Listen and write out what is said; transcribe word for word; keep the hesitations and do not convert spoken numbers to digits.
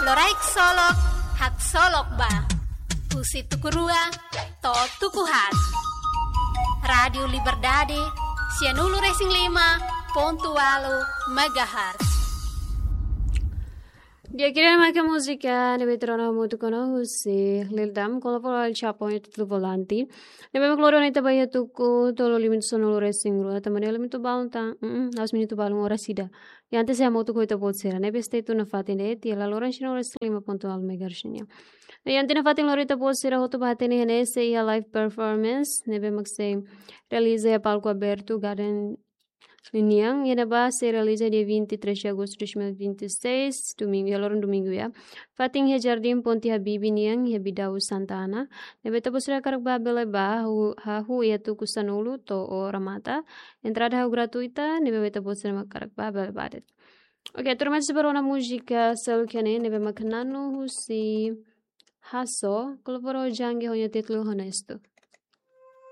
Loraik Solok, Haksolok Ba. Husi tuku rua to'o tuku haat. Rádiu Liberdade, sianulu-resin-lima pontu ualu megahertz. Di'ak, ida-ne'e mak múzika ne'ebé tuur ona hamutuk ona husi Lil Dam, kolaborasaun ho El Chapo, nia títulu Volante. Ne'ebé mak lori ona ita ba iha tuku tolu limitu sanulu-resin-rua, tanba ne'e limitu balun tan, mm, la'ós minutu balun, oras ida. I antes iha hamutuk ho ita-boot sira ne'ebé stay tune nafatin de'it, iha laloran sianulu-resin-lima pontu ualu megahertz nian. I antes nafatin lori ita-boot sira hotu ba hatene hanesan iha live performance ne'ebé mak sei realiza iha palku abertu Garden nian, iha ne'ebá sei realiza dia vinte e três de agosto de dois mil e vinte e seis, domingu, iha loron domingu ya. Fatin iha Jardín Ponte Habibie nian, iha Bidau Santa Ana. Ne'ebé ita-boot sira hakarak bá bele bá, hahú, hahú iha tuku sanulu to'o remata. Entrada hahú gratuita, ne'ebé ita-boot sira mak hakarak bá bele bá de'it. Oke, tuirmai sei ba rona múzika seluk ne'e, ne'ebé mak Nano husi Hasso, kolabora ho Djangge ho nia títulu Honesto.